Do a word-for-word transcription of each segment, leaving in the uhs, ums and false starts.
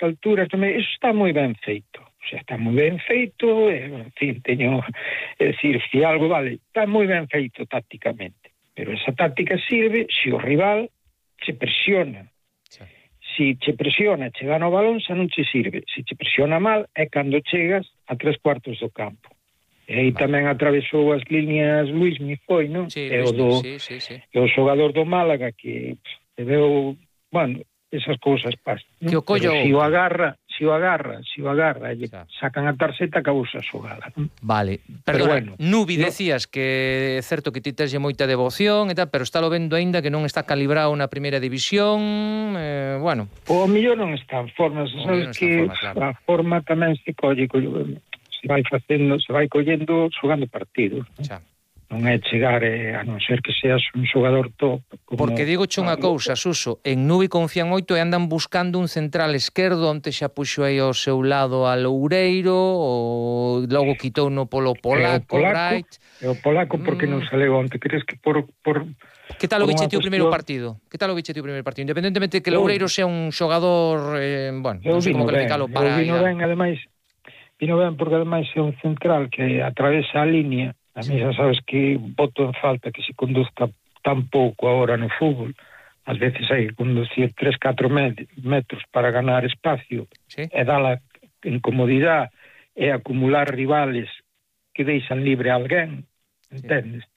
alturas, eso está moi ben feito. O sea, está moi ben feito, en fin, teño, é dicir, se algo vale, está moi ben feito tácticamente. Pero esa táctica sirve se o rival se presiona. Sí. Se che presiona, che gana o balón, xa non che sirve. Se che presiona mal, é cando chegas a tres cuartos do campo. E aí vale. Tamén atravesou as líneas Luismi, foi, non? Sí, e Luismi, o do, sí, sí, sí. E o xogador do Málaga que te veo, bueno, esas cousas pasan. Que o collo... Pero se o agarra, se o agarra, se o agarra, e sacan a tarxeta, acabou a xogada, non? Vale. Perdona, bueno, Nubi, no... decías que é certo que ti teslle moita devoción e tal, pero estálo vendo aínda que non está calibrado na primeira división, eh, bueno. O millón non está en forma, sabes que forma, claro. A forma tamén se colle, se vai facendo, se vai collendo xogando partidos. Xa. Non é chegar, eh, a non ser que seas un xogador top. Como... Porque digo che unha cousa, Suso, en Nubi confían moito e andan buscando un central esquerdo, onte xa puxo aí ao seu lado a Loureiro, ou logo quitou no polo polaco, Bright. E o polaco porque mm. non saleu onte, crees que por... por que tal o biche ti o primeiro partido? Que tal o biche ti o primeiro partido? Independentemente de que Loureiro sea un xogador, eh, bueno, non sei como calificalo para... Eu vino ben, ademais, vino ben porque ademais é un central que atravesa a línea. A mí xa sabes que boto en falta que se conduzca tan pouco agora no fútbol. Ás veces hai que conducir tres, catro metros para ganar espacio, sí. E dar a incomodidade e acumular rivales que deixan libre a alguén, entendes? Sí.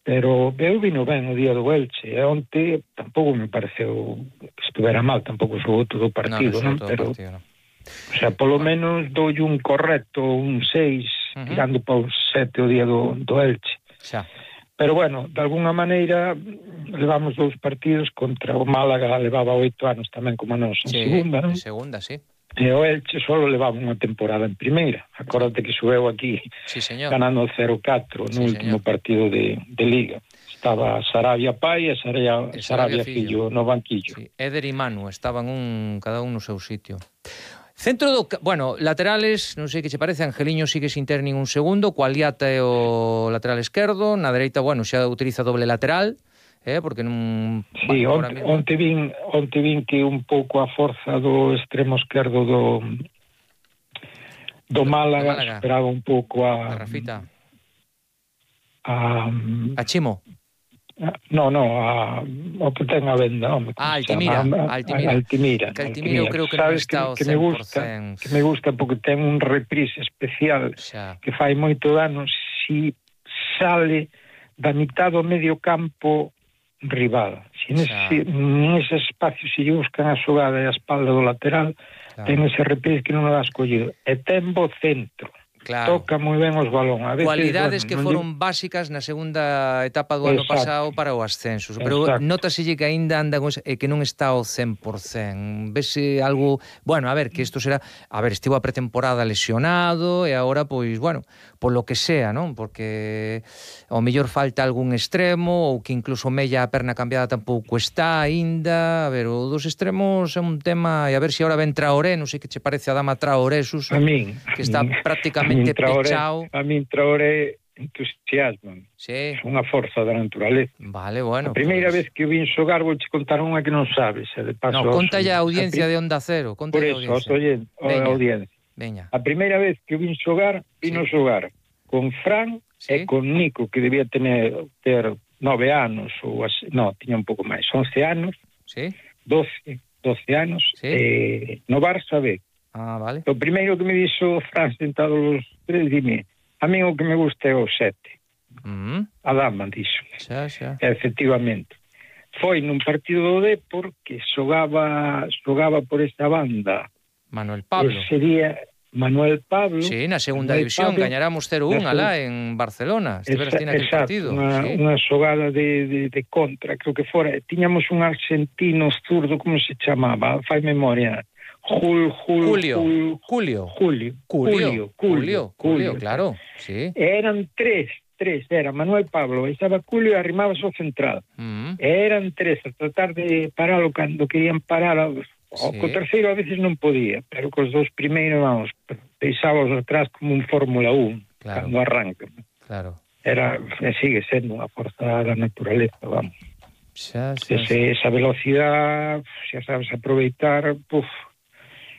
Pero eu vino ben o día do Elche, e onte tampouco me pareceu que estuvera mal, tampouco xogou todo o partido, non? non? Pero, partido, non. O sea, polo menos dou un correcto, un seis, uh-huh. Tirando para un sete o día do, do Elche. Xa. Pero bueno, de alguna maneira levamos dous partidos contra o Málaga, levaba oito anos tamén como nós en sí, segunda, non? En segunda, sí. E o Elche solo levaba unha temporada en primeira. Acórdate que subeu aquí sí, señor. Ganando cero catro no sí, último señor. Partido de, de Liga. Estaba Sarabia pai e Sarabia, Sarabia fillo no banquillo. Sí. Éder e Manu estaban un, cada un no seu sitio. Centro do... Bueno, laterales, non sei que che parece, Angeliño sigue sin ter ningún segundo, Cualiata é o lateral esquerdo, na dereita, bueno, xa utiliza doble lateral, eh, porque non... Sí, bueno, onte, mismo... onte, vin, onte vin que un pouco a forza do extremo esquerdo do do Málaga, do Málaga. Esperaba un pouco a... A Rafita. A... A Chimo. No, no, a, o que ten a venda, home, ah, Altimira, a, Altimira. A, Altimira. Que Altimira eu creo que non está ao que, que me gusta, que me gusta porque ten un reprise especial xa. Que fai moito dano si sale da mitad do medio campo rival. Si nese, nese espacio se lle buscan a xogada e a espalda do lateral, claro. Ten ese reprise que non o has collido. E ten bo centro. Claro. Toca moi ben os balón. A veces, cualidades bueno, que foron digo... básicas na segunda etapa do ano pasado para o ascenso. Pero nótaselle que aínda anda con... e que non está ao cen por cen. Vese algo... Bueno, a ver, que isto será... A ver, estivo a pretemporada lesionado e agora, pois, bueno, por lo que sea, non? Porque ao mellor falta algún extremo ou que incluso mella a perna cambiada tampouco está aínda. A ver, o dos extremos é un tema... E a ver se agora ven Traoré, non sei que che parece a dama Traoré, Suso, a min, que está prácticamente a Traoré, pechao. A min Traoré entusiasma. Sí. É unha forza da naturaleza. Vale, bueno. A primeira pues... vez que vin xogar vou che contar unha que non sabes. De paso no, conta ya a audiencia a de Onda Cero. Conta por eso, a audiencia. Veña. A primeira vez que vin xogar, vino sí. xogar con Fran sí. e con Nico, que debía tener ter nove anos, ou así, no, tiña un pouco máis, once anos, sí. doce, doce anos, sí. eh, no Barça B. Ah, vale. O primeiro que me dixo Fran sentado os tres, dime, a mí o que me gusta é o sete. Mm. A dama, dixo. Xa, xa. Efectivamente. Foi nun partido do Depor que xogaba, xogaba por esta banda. Manuel Pablo. Que sería Manuel Pablo. Sí, na segunda Manuel división, Pablo, gañaramos cero un alá en Barcelona. Estiveras ti naquele partido. Unha, sí. unha xogada de, de, de contra, creo que fora. Tiñamos un argentino zurdo, como se chamaba? Fai memoria. Jul, Jul, Julio. Jul, Julio. Julio. Julio. Julio. Julio, claro. Sí. Eran tres, tres. Era Manuel Pablo, estaba Julio e arrimaba o central. Mm. Eran tres a tratar de paralo cando querían parar. O sí. Co terceiro a veces non podía, pero cos dous primeiros, vamos, peisábamos atrás como un Fórmula uno, claro. Cando arranca. Claro. Era, sigue sendo unha forza da naturaleza, vamos. Xa, xa, Ese, esa velocidade, xa sabes aproveitar, puf,